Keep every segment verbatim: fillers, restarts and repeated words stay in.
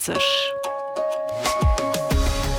zwanzeg.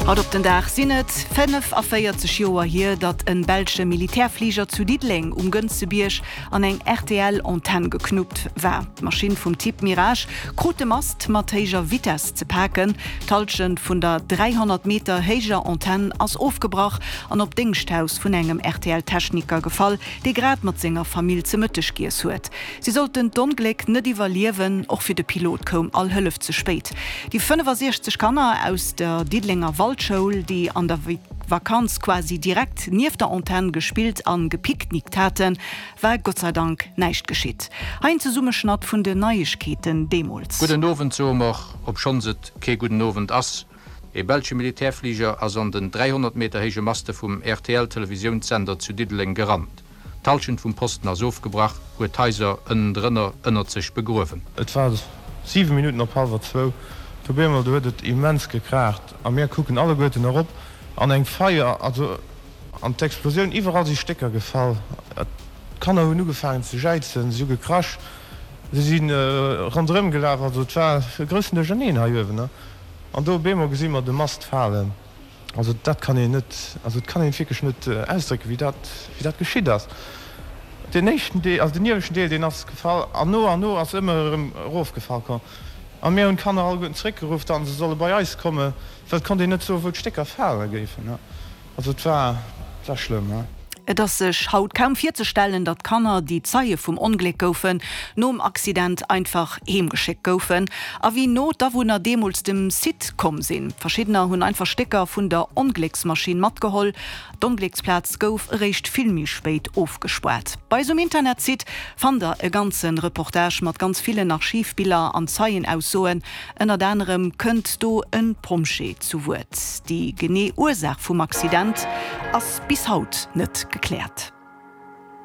Haut op den Dag sinn et fënnefaféierzeg Joer hier, datt en belsche Militärfliger zu Diddeleng um Gënzebierg an eng R T L-Antenn geknuppt war. D'Maschinn vum Typ Mirage krut de Mast mat héijer Vitess ze paken. D'Hallschent vun der dräihonnert Meter héijer Antenn ass ofgebrach an op d'Déngschthaus vun engem R T L-Techniker gefall, dee grad mat senger Famill ze Mëtteg giess huet. Si sollten d'Ongléck net iwwerliewen, och fir de Pilot koum all Hëllef ze spéit. Déi fënnefasiechzeg Kanner aus der Diddelenger Waldschoul, déi an der Vakanz quasi direkt nieft der Antenn gespillt an gepicknickt haten, war Gott sei Dank näischt geschitt. Hei en Zesummeschnatt vun den Neiegkeeten deemools. Gudden Owend soe mer, obschonns et kee gudden Owend ass. E belsche Militärfliger ass an den dräihonnert Meter héije Maste vum R T L-Televisiounssender zu Diddeleng gerannt. D'Hallschent vum Posten ass ofgebrach, huet d'Haiser ënnendrënner ënnert sech begruewen. Et war siwe Minutten op hallwer zwou, do op eemol, do huet et immens gekraacht a mir kucken alleguerten erop an eng Feier, also an d'Explosioun, iwwerall si Stécker gefall, d'Kanner hunn ugefaangen ze jäizen, si hu gekrasch, si si ronderëm gelaf, also et war e groussen Duercherneen hei uewen. An do op eemol gesi mer de Mast falen. Also dat kann een net, also et kann een wierklech net ausdrécken, wéi dat, wéi dat geschitt ass. Deen éischten Deel, also den ieweschten Deel, deen ass gefall an no an no ass ëmmer erëm erofgefall komm. A mir hunn d'Kanner alleguerten zeréckgeruff, datt se solle bei eis kommen, well et konnt een net soen, wou d'Stécker fale géifen. Also et war, et war schlëmm. Et ass sech haut kaum virzestellen, datt Kanner, déi Zeie vum Ongléck goufen, nom Accident einfach heemgeschéckt goufen. A wéi no d'Awunner deemools dem Site komm sinn. Verschiddener hunn einfach Stécker vun der Onglécksmaschinn matgeholl. D'Onglécksplaz gouf eréischt vill méi spéit ofgespaart. Bei eis um Internetsite fannt der e ganze Reportage mat ganz villen Archivbiller an Zeienaussoen. Ënnert anerem kënnt do e Pompjee zu Wuert. Déi genee Ursaach vum Accident ass bis haut net gekläert.